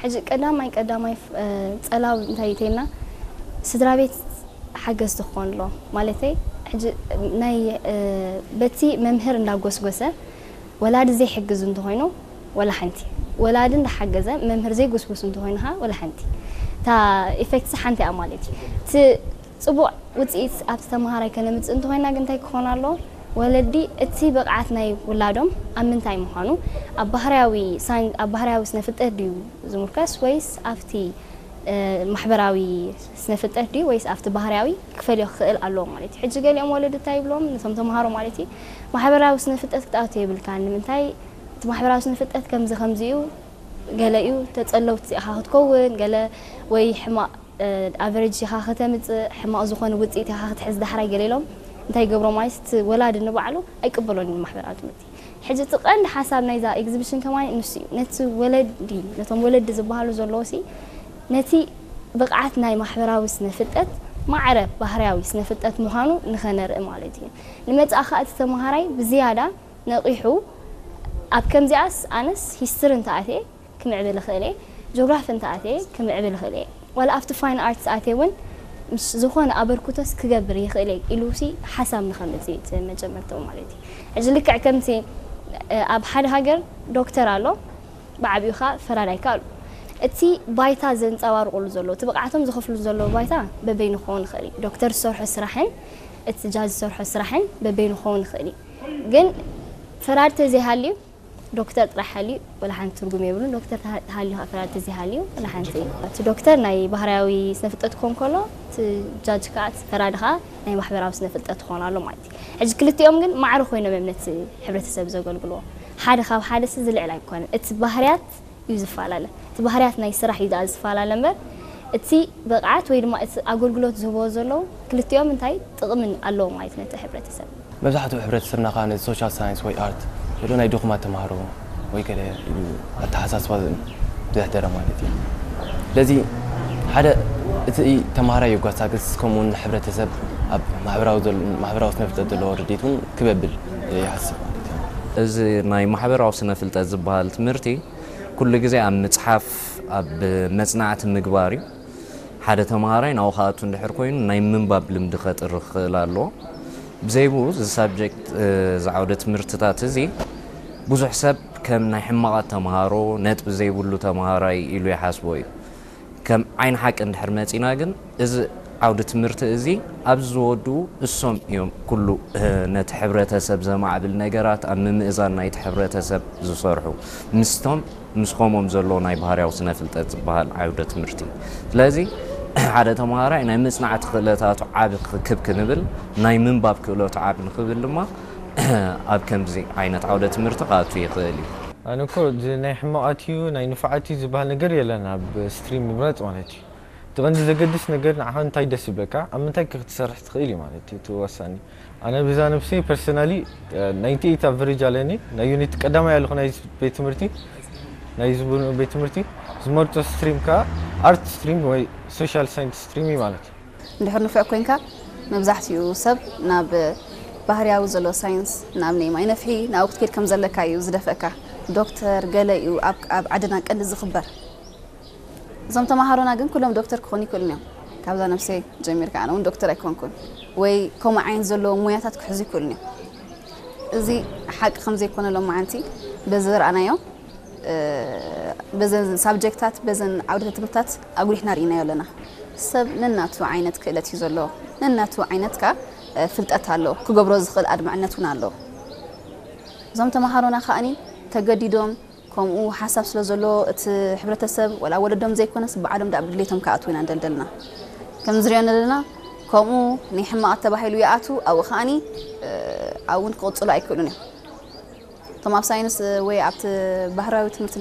ሕጂ ቀዳማይ ቀዳማይ ፍ- እ፣ ጸላው እንታይ ይተና ስድራ ቤት ሓገዝቲ ክኾን ኣሎ ማለተይ። ሕጂ ናይ እ፣ በቲ መምህር እንዳጎስጎሰ ወላዲ ዘይሕግዝ እንተኾይኑ ወላ ሓንቲ፣ ወላዲ እንዳሓገዘ መምህር ዘይጎስጎስ እንተኾይኑ ኸዓ ወላ ሓንቲ፣ እታ ኢፌክትስ ሓንቲ እያ ማለት እዩ። እቲ ጽቡቕ ውጽኢት ኣብቲ ተመሃራይ ከነምጽእ እንተኾይና ግን እንታይ ክኾን ኣለዎ? ወለዲ እቲ ብቕዓት ናይ ውላዶም ኣብ ምንታይ ምዃኑ፣ ኣብ ባህርያዊ ሳይን- ኣብ ባህርያዊ ስነ ፍልጠት ድዩ ዝምርከስ ወይስ ኣብቲ እ፣ ማሕበራዊ ስነ ፍልጠት ድዩ ወይስ ኣብቲ ባህርያዊ ክፈልዮ ክኽእል ኣለዎ ማለት እዩ። ሕጂ ገሊኦም ወለዲ እንታይ ይብሎም ነቶም ተምሃሮ ማለት እዩ፣ ማሕበራዊ ስነ ፍልጠት ክትኣቱ የብልካን። ንምንታይ እቲ ማሕበራዊ ስነ ፍልጠት ከምዚ ከምዚ እዩ፣ ገለ እዩ ተጸለውቲ ኢኻ ክትከውን፣ ገለ ወይ ሕማቕ ኣቨሬጅ ኢኻ ከተምጽእ፣ ሕማቕ ዝኾነ ውጽኢት ኢኻ ክትሕዝ ዳሕራይ ገለ ኢሎም እንታይ ይገብሮ ማለት እቲ ወላዲ ንባዕሉ ኣይቅበሎን እዩ ማሕበራዊ ትምህርቲ። ሕጂ እቲ ቀንዲ ሓሳብ ናይዛ ኤግዚቢሽን ከማን ንሱ እዩ። ነቲ ወለዲ፣ ነቶም ወለዲ ዝበሃሉ ዘለዉ ሲ ነቲ ብቕዓት ናይ ማሕበራዊ ስነ ፍልጠት ማዕረ ባህርያዊ ስነ ፍልጠት ምዃኑ ንኸነርኢ ማለት እዩ። ንመጻኢ ኸኣ እቲ ተመሃራይ ብዝያዳ ነቒሑ ኣብ ከምዚኣስ ኣነስ ሂስትሪ እንተኣትየ ክምዕብል እኽእል እየ፣ ጂኦግራፊ እንተኣትየ ክምዕብል እኽእል እየ፣ ዋላ ኣብቲ ፋይን ኣርትስ ኣትየ እውን ምስ ዝኾነ ኣበርክቶስ ክገብር ይኽእል እየ ኢሉ ሲ ሓሳብ ንኸምጽእ እቲ መጀመርታኡ ማለት እዩ። ሕጂ ልክዕ ከምቲ እ፣ ኣብ ሓደ ሃገር ዶክተር ኣሎ፣ ብዓቢኡ ኸኣ ፈራዳይ ከኣ ኣሎ። እቲ ባይታ ዘንጸባርቑሉ ዘለዉ፣ እቲ ብቕዓቶም ዘኸፍሉ ዘለዉ ባይታ በበይኑ ክኸውን ይኽእል እዩ። ዶክተር ዝሰርሖ ስራሕን እቲ ጃጅ ዝሰርሖ ስራሕን በበይኑ ክኸውን ይኽእል እዩ። ግን ፈራድ ተዘይሃልዩ ዶክተር ጥራሕ ሃልዩ ወላ ሓንቲ ትርጉም የብሉን። ዶክተር ተሃ- ተሃልዩ ኸዓ ፈራድ ተዘይሃልዩ ወላ ሓንቲ። እቲ ዶክተር ናይ ባህርያዊ ስነ ፍልጠት ክኾን ከሎ እቲ ጃጅ ከዓ እቲ ፈራዲ ከዓ ናይ ማሕበራዊ ስነ ፍልጠት ክኾን ኣሎ ማለት እዩ። ሕጂ ክልቲኦም ግን ማዕረ ኮይኖም እዮም ነቲ ሕብረተሰብ ዘገልግልዎ። ሓደ ካብ ሓደ ሲ ዝልዕል ኣይኮነን። እቲ ባህርያት እዩ ዝፈላለ። እቲ ባህርያት ናይ ስራሕ እዩ ደኣ ዝፈላለ እምበር እቲ ብቕዓት ወይ ድማ እቲ ኣገልግሎት ዝህብዎ ዘለዉ ክልቲኦም እንታይ ጥቕምን ኣለዎ ማለት ነቲ ሕብረተሰብ። መብዛሕትኡ ሕብረተሰብና ከዓ ነዚ ሶሻል ሳይንስ ወይ ኣርት ዘሎ ናይ ድኹማት ተምሃሮ ወይ ገለ ኢሉ ኣተሓሳስባ ዘሕደረ ማለት እዩ። ስለዚ ሓደ እቲ ተምሃራይ የጓሳግስ፣ ከምኡውን ሕብረተሰብ ኣብ ማሕበራዊ ዘል- ማሕበራዊ ስነ ፍልጠት ዘለዎ ርድኢት እውን ክበብል ይሓስብ ማለት እዩ። እዚ ናይ ማሕበራዊ ስነ ፍልጠት ዝበሃል ትምህርቲ ኩሉ ግዜ ኣብ ምጽሓፍ ኣብ መጽናዕቲ ምግባር እዩ። ሓደ ተምሃራይ ናብኡ ክኣቱ እንድሕር ኮይኑ ናይ ምንባብ ልምዲ ከጥሪ ክኽእል ኣለዎ። ብዘይ ብኡ እዚ ሳብጀክት እዚ ዓውደ ትምህርትታት እዚ ብዙሕ ሰብ ከም ናይ ሕማቓት ተምሃሮ ነጥቢ ዘይብሉ ተምሃራይ ኢሉ ይሓስቦ እዩ። ከም ዓይኒ ሓቂ እንድሕር መጺና ግን እዚ ዓውዲ ትምህርቲ እዚ ኣብዚ ዝወድኡ እሶም እዮም ኩሉ ነቲ ሕብረተሰብ ዘማዕብል ነገራት ኣብ ምምእዛን ናይቲ ሕብረተሰብ ዝሰርሑ ምስቶም ምስ ከምኦም ዘለዉ ናይ ባህርያዊ ስነ ፍልጠት ዝበሃል ዓውደ ትምህርቲ። ስለዚ ሓደ ተምሃራይ ናይ ምጽናዕቲ ክእለታቱ ዓቢ ክክብ ክንብል ናይ ምንባብ ክእለቱ ዓቢ ንክብል ድማ ኣብ ከምዚ ዓይነት ዓውደ ትምህርቲ ክኣቱ ይኽእል እዩ። ኣነ እኮ እዚ ናይ ሕማቓት እዩ ናይ ንፉዓት እዩ ዝበሃል ነገር የለን ኣብ ስትሪም ምምራጽ ማለት እዩ። እቲ ቀንዲ ዘገድስ ነገር ንዓኻ እንታይ ደስ ይብለካ፣ ኣብ ምንታይ ከ ክትሰርሕ ትኽእል እዩ ማለት እዩ እቲ ወሳኒ። ኣነ ብዛ ነብሰይ ፐርሰናሊ ናይንቲ ኤይት ኣቨሬጅ ኣለኒ ናይ ዩኒት ቀዳማይ ኣለኹ ናይ ቤት ትምህርቲ ናይ ዝቡ ቤት ትምህርቲ ዝመርጾ ስትሪም ከኣ ኣርት ስትሪም ወይ ሶሻል ሳይንስ ስትሪም እዩ ማለት እዩ። እንድሕር ንፉዕ ኮይንካ መብዛሕትኡ ሰብ ናብ ባህርያዊ ዘሎ ሳይንስ ናብ ናይ ማይ ነፍሒ ናብኡ ክትከይድ ከም ዘለካ እዩ ዝደፍእካ። ዶክተር ገለ እዩ ኣብ ኣብ ዓድና ቀንዲ ዝኽበር። እዞም ተምሃሮና ግን ኩሎም ዶክተር ክኾኑ ይክእሉን እዮም። ካብዛ ነብሰይ ጀሚርካ ኣነ እውን ዶክተር ኣይኮንኩን ወይ ከምኡ ዓይነት ዘለዎ ሞያታት ክሕዙ ይክእሉን እዮም። እዚ ሓቂ ከም ዘይኮነ ሎማዓንቲ በዚ ዝረኣናዮ በዘን ሳብጀክታት በዘን ዓውደ ትምህርታት ኣጉሊሕና ርኢናዮ ኣለና። ሰብ ነናቱ ዓይነት ክእለት እዩ ዘለዎ፣ ነናቱ ዓይነት ከኣ ፍልጠት ኣለዎ፣ ክገብሮ ዝኽእል ኣድማዕነት እውን ኣለዎ። እዞም ተምሃሮና ከኣኒ ተገዲዶም ከምኡ ሓሳብ ስለ ዘሎ እቲ ሕብረተሰብ ወላ ወለዶም ዘይኮነስ ባዕሎም ዳ ብድሌቶም ክኣትዉ ኢና ንደልደልና ከም ዝሪኦ ዘለና። ከምኡ ናይ ሕማቕ ተባሂሉ ይኣቱ ኣብኡ ከኣኒ ኣብኡን ክቕፅሉ ኣይክእሉን እዮም። እቶም ኣብ ሳይንስ ወይ ኣብቲ ባህራዊ ትምህርቲ